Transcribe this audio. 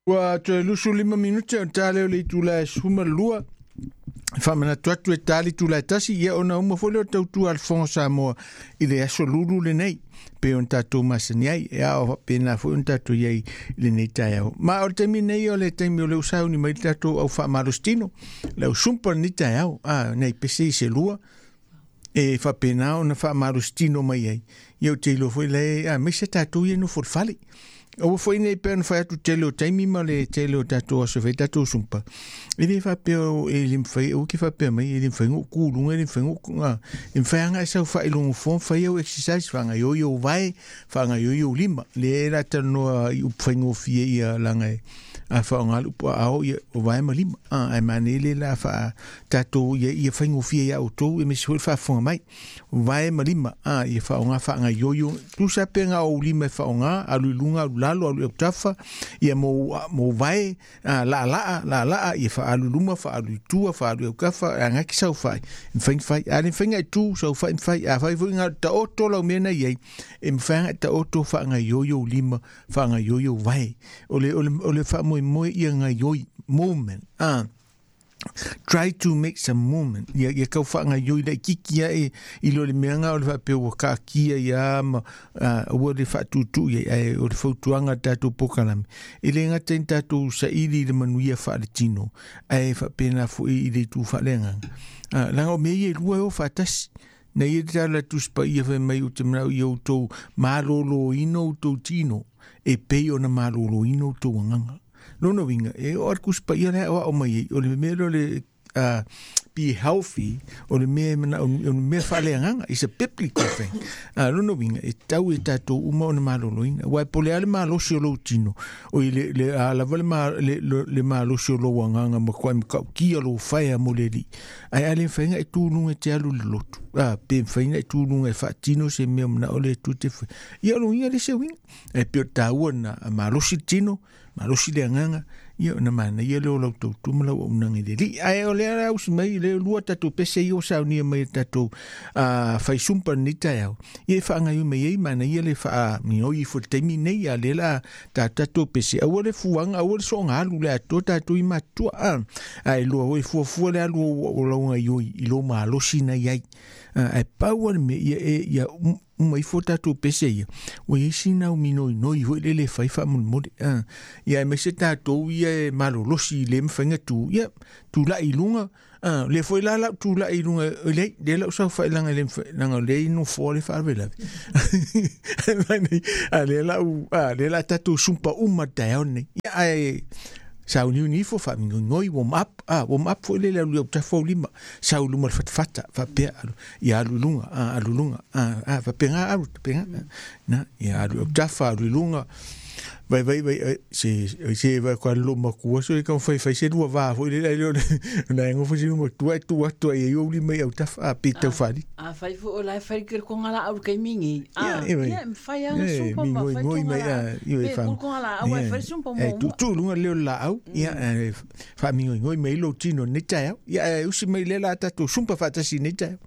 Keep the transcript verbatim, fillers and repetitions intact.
Ua toe lusu lima minute o tale o le itula e sefulumalua. Faamanatu atu e tali tula e tasi ia ona uma foi lea o tautua a le Fofoga Samoa i le aso lulu lenei pe ona tatou masani ai e ao faapena foi ona tatou i ai i lenei taeao. Ma o le taimi nei o le taimi o le usauni mai le tatou au faamalositino le au sumpa lenei taeao a nei pese i se lua e faapena ona faamalositino mai ai. Ia ou te iloa foi le a aemaise tatou ia nofo i le fale. Aua foi nei pea ona fai atu tele o taimi ma le tele o tatou aso e fai tatou sumpa. E le faapea e le mafai, aua ke faapea mai, e le mafai ona ou tu i luga, e le mafai ona ou, a, e mafai lava ona e saofai i lou nofoa ma fai au exercise, faagaoioi ou vae, faagaoioi ou lima. Lea la talanoa i upu faigofie ia laga e a faaaoga le upu aao ia o vae ma lima. A, ae manaia le la faa tatou ia, ia faigofie ia outou e misi foi le faafofoga mai. Vae ma lima, a, ia faaaoga faagaoioi, tusa pe na ou lima e faaaoga, alu i luga, alu lalo, alu i autafa, ia mo, mo vae, a, laalaa, laalaa, ia faaalu i luma, faaalu i tua, faaalu i autafa, e agai ki saofai, e mafai ona fai. A le mafai ona e tu, saofai mafai, a fai foi na taoto lau mea na i ai, e mafai ona e taoto faagaoioi ou lima, faagaoioi ou vae. O le, o le, o le faamoemoe ia gaoioi, movement, a, try to make some movement. Ia, ia kau whaangaioi lai kiki ae i lo le mea o le whaapea ua kaakia ia ma uh, ua le whaatutu ia ai o le fautuaga tatou pokalame. E le ngata i tatou saili i le manuia whaale tino ae whaapena foi i le itu whaaleagaga. Uh, langa o mea ia e lua e o faatasi. Na ia te tala Tusi Paia fai mai ou te manao ia outou malōlōina outou tino e pei ona malōlōina outou agaga. Lona uiga, e oo atu Tusi Paia lea o ao mai ai, o le mea lea o le uh, be healthy, o le mea e manao, o le mea faaleagaga, is a biblical thing. Uh, lona uiga, e tau e tatou uma ona malōlōina. Aua e po o le a le malosi o lou tino, o i le, le a lava le, ma, le, le, le malosi o lou agaga ma kuai matautia lou faea mo le Alii. Ae a le mafai ona e tu i luga e te alu i le lotu. A, pe mafai ona e tu i luga e faatino se mea o manao le Atua te fai. Ia o lona uiga le se uiga. Ae pei o le taua na malosi le tino, malosi le agaga, ia ona manaia lea o lau tautua ma lau auaunaga i le Alii. Ae o lea la usi mai, le lua tatou pese ia ua saunia mai e tatou uh, faisumpa lenei taeao. Ia e faagaoioi mai ai, manaia le faaminoi ifo i le taimi nei, a lea la ta tatou pese. Aua le fuaga, aua le soaga alu le atoa tatou i matutua. A, ae lua oi fuafua le alu o, o lau gaoioi i lou malosi na i ai. Ae pau le mea ia e ia uma ifo tatou pese ia, ua iai sina uminoinoi foi lele e fai faamolemole. A, ia aemaise tatou ia e malolosi i le mafai ona tu, ia tulai i luga. A, lea foi la lau tulai i luga, lei, lea lau saofai laga le mafai, laga o lea i nofoa le faalavelave. A lea lau, a lea la tatou sumpa uma le taeao lenei. Ia ae sauniuni ifo faaminoinoi, warm up, ah, warm up foi lele alu i autafa o lima, sau i luma o le fatafata, faapea alu, ia alu i luga, ah, alu i luga, ah, ah, faapena alu, faapena, na, ia alu i autafa, alu i luga, vai vai vai se se vai kwa lo makua so e ka fai fai se lua va foi le le na ngo foi se matua e tu atu ai o lima i autafa a pe tau fali. A fai foi o lai fai ke konga la au ke mingi. A, Ia, ia fai anga e, sumpa ma mingoi fai ngoi tonga mai la. a i Pe fa. kul konga la au e fai sumpa E mo. tu tu lunga leo la au ia e, fa mingoi ngoi mai lo tino nei taeao. Ia e usi mai le la tatou sumpa faatasi nei taeao.